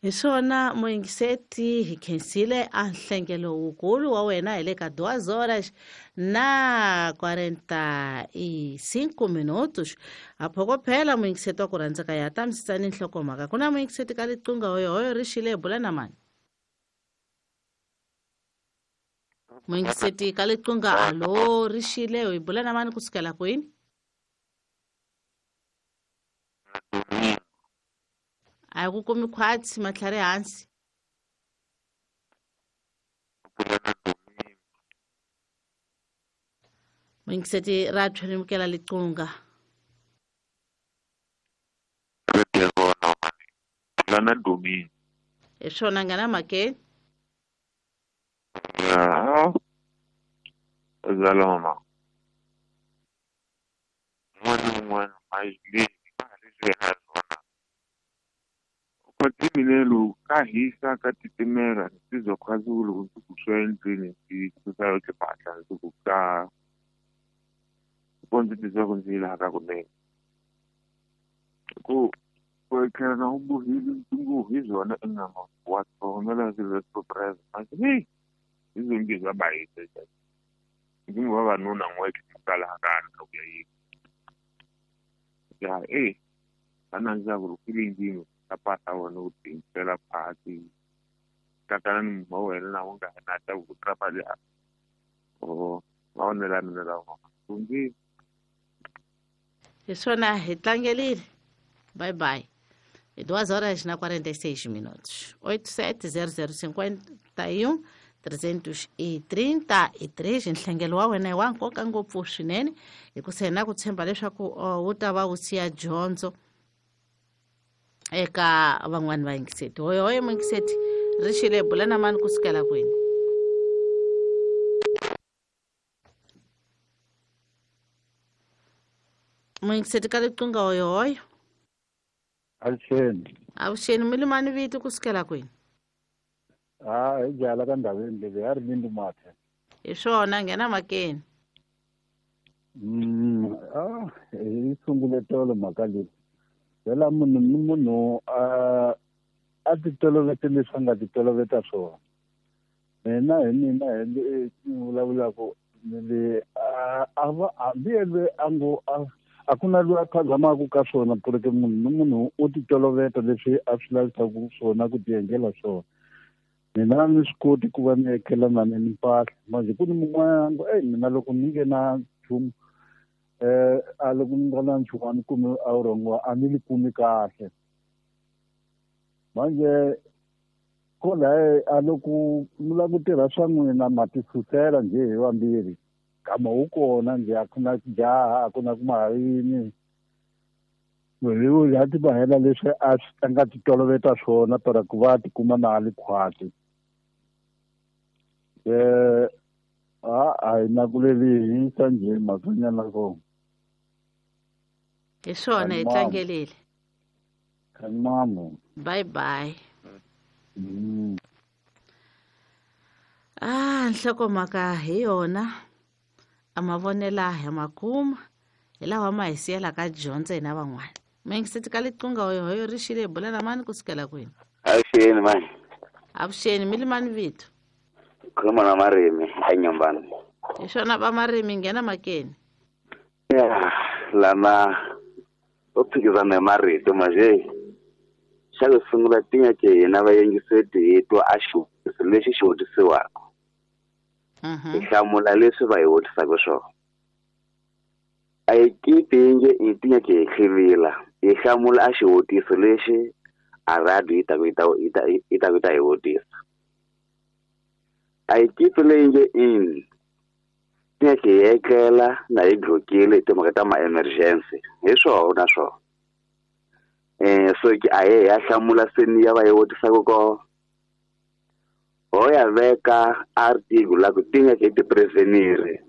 Hi swona muyingiseti, hi khensile a nhlengelo wukulu wa wena hi le ka 2 horas na 45 minutos. A phokophela muyingiseti wa ku rhandzeka ya ta misisani nhlokomhaka. Ku na muyingiseti ka liqunga hoyohoyo ri xile, bula na mani? Muyingiseti ka liqunga, alo, ri xile, hi bula na mani kusukela kwini? A hi ku kumi khwatsi, matlhari hansi. Muyingiseti ra tlhelimukela liqunga. Lana Domingo. Hi swona, nghena mhakeni. Ya. Zaloma. Un'wana na un'wana leswi yena swona. Kwatimilelo ka hisa ka titimela ndzi khwazi ku loko ndzi ku swa endlwini ndzi susa yo timpahla ndzi ku ka ko ndzi titwa ku ndzi yila ka kunene ku ku etlhela na u bohile ntungu hi byona inama wa tlhogomela swilo leswi press manje hey hi zonke swa bayisa ndzi ngo vavanuna n'we kalakala loko ya yini ya eh ana ndza ku feeling ta pasa wona u tiyimisela phasi kakana ni munhu wa wena na u nga na ta ku trapa le o mavonelo ya mina lawa kumbe. Hi swona, hi tlangelile. Bye bye. 2 horas na 46 minutos. 870051 333. Nhlengelo wa wena i wa nkoka ngopfu swinene, hikusa hi na ku tshemba leswaku wu ta va wu siya dyondzo eka van'wani vayingiseti. Hoyohoyo muyingiseti, ri xile, bula na mani kusukela kwini? Muyingiseti ka liqunga, hoyohoyo. Avuxeni. Avuxeni, mi limani vito kusukela kwini? Ha, hi jala ka ndhaveni leyi ya ri mindi mathe. Hi swona, nghena makeni. Ah, hi sungule tolo mhaka leyi. Phela munhu ni munhu a a titolovete leswi a nga titoloveta swona. Mina hi mina hi le ni vulavulaka ni le a va hambi yelwe a ngo a ku na loyi a phazamaka ka swona, ku ri munhu ni munhu u titoloveta leswi a swi lavisaka swona ku ti endlela swona. Mina ni swi koti ku va ni etlela na ni mpahla manje ku ni mun'wana ngo ey mina loko ni nge na nchumu a loko ni nga na nchumu a ni kumi a vurhongo a ni li kumi kahle manje ko laye a loko mi lava ku tirha swa n'wina ma ti susela njhe hi vambirhi kama wu kona njhe a ku na ku jaha a ku na ku mahayini munhu a ti mahela leswi a a nga ti toloveta swona para ku va a tikuma na a li khwati. A a hi na ku lelihisa njhe mhakanyana kona. Hi swona, hi tlangelile. Kanimamu. Bye bye. Ah, nhlokomhaka hi yona, a mavonela hi makuma hi lawa ma hi siyelaka dyondzo hina van'wana. Muyingiseti ka liqunga, hoyohoyo, ri xile, hi bula na mani kusukela kwini? Avuxeni mani. Avuxeni, mi limani vito? Khuluma na Marimi eNyambani. Hi swona, va Marimi, nghena makeni. Ya lana u phikizana hi marito manje xa ku sungula tinya ke hina vayingiseti hi twa a xivutiso lexi xi vutisiwaka, hi hlamula leswi va hi vutisaka swona. A hi kipi yi nge i tinya ke hi hlivila, hi hlamula a xivutiso lexi a radio yi ta ku yi ta ku yi ta hi vutisa. A hi kipi leyi nge in tinya ke hi etlela na hi glokile hi timhaka ta ma-emergency hi swona swona. So ke a hi ya hlamula seni ya va yi vutisaka ko ho ya veka article la ku tinya ke ti-prevenir.